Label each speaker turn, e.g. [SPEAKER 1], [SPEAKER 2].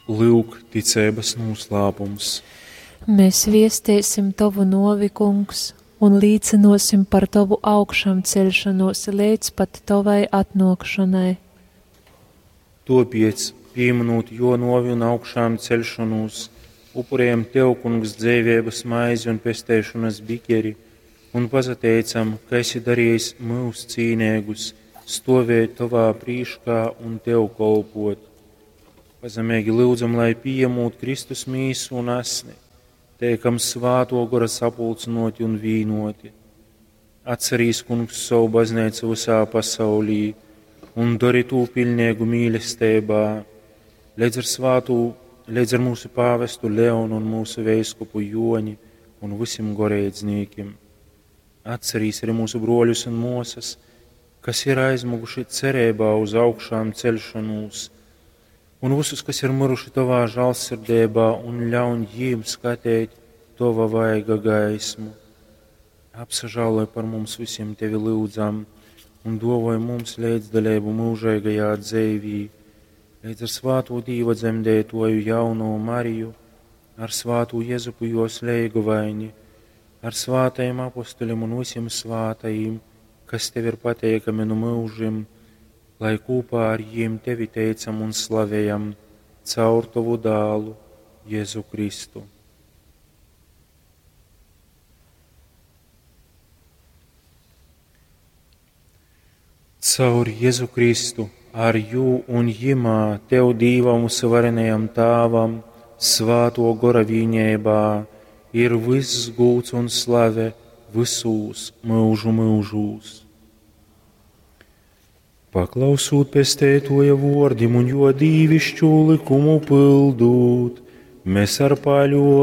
[SPEAKER 1] Lyuk, ticeibas nūslāpums.
[SPEAKER 2] Mēs viestēsim Tovu novi, Kungs, un līcinosim par Tovu augšamceļšanos līdz pat Tovai atnokšanai.
[SPEAKER 1] Topiec, pieminot jo novi un augšām celšanos, upurējam Tev, Kungs, dzēvības maizi un pestēšanas bikeri, un pazateicam, ka esi darījis mūs cīnēgus, stovēt Tovā prīškā un Tev kolpot. Pazemīgi lūdzam, lai pieņemot Kristus mīsu un asni, teikam svāto gora sapulcinoti un vīnoti. Atcerīs, Kungs, savu baznīcu visā pasaulī un dari tū pilnīgu mīlestībā, līdz ar svātū, līdz ar mūsu pāvestu Leonu un mūsu veiskupu Joni un visiem goreidznīkim. Atcerīs arī mūsu broļus un mosas, kas ir aizmuguši cerībā uz augšām celšanos, un visus, kas ir miruši tavā žālsirdībā, un ļauj jiem skatīt tava vaiga gaismu. Apsažāloj par mums visiem tevi lūdzam, un dovoj mums līdzdalību mūžīgajā dzīvī, līdz ar svāto Dīva dzemdētoju jauno Mariju, ar svāto Jezupu jos leigovaini, ar svātajiem apustuļiem un visiem svātajiem, kas tev ir pateikami no mūžiem, lai kopā ar jiem tevi teicam un slavējam caur tavu dālu Jēzu Kristu. Caur Jēzu Kristu, ar jū un jimā, tev Dīvam varenajam Tāvam, svāto gora vīņībā, ir viss gūts un slave visūs mūžu mūžūs. Paklausūt pestētoja vordim un jo dīvišķu likumu pildūt, mēs ar paļo